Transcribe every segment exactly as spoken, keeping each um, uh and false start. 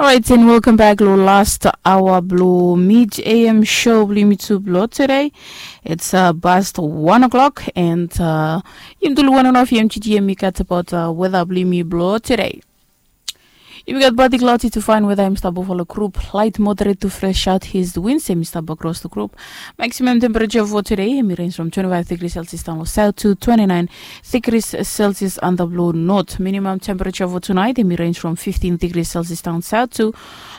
Orait, and welcome back lo last hour blo mid am show blo yumi tu blo today. It's uh, past one o'clock, and uh, yumi tu lo one and a half yumi gat about uh, weather blo yumi blo today. Yumi gat partly cloudy to fine weather. Yumi stap offer lo group light moderate to fresh out his winds. Yumi stap across the group. Maximum temperature for today, yumi range from twenty-five degrees Celsius down south to twenty-nine degrees Celsius under blue north. Minimum temperature for tonight, yumi range from fifteen degrees Celsius down south to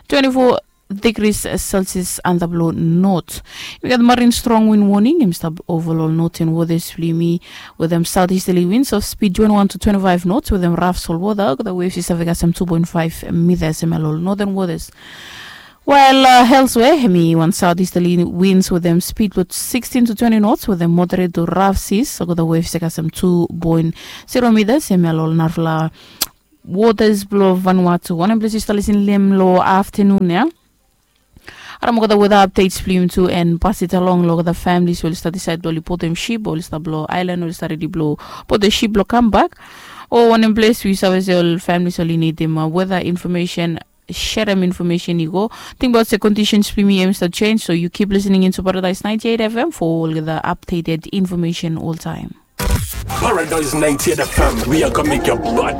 twenty-four degrees Celsius under blue north. Yumi gat marine strong wind warning. Yumi stap over lo northern waters blo yumi with them southeasterly winds of speed twenty-one to twenty-five knots with them rough salt water. The waves is having us some two point five meters in lo northern waters. Well, uh, elsewhere, hemi wan southeasterly winds with them speed lo sixteen to twenty knots with them moderate to rough seas. So the waves take us some two point zero meters. Hemi lo narafala waters blo Vanuatu. Wanem ples yu stap lisin lo hem lo afternoon ya. Harim olgeta weather updates blo yumi tu and pass it along lo olgeta families we oli stap decide blo oli putum ship, oli stap blo island, oli stap redi blo putum ship blo kambak. O wanem ples we yu save se ol families oli nidim uh, weather information, serem information i go. Tingbaot se conditions blo yumi hemi stap change, so yu keep listening into Paradise ninety-eight F M for olgeta updated information oltaem. Paradise ninety-eight F M, we are gonna make your body.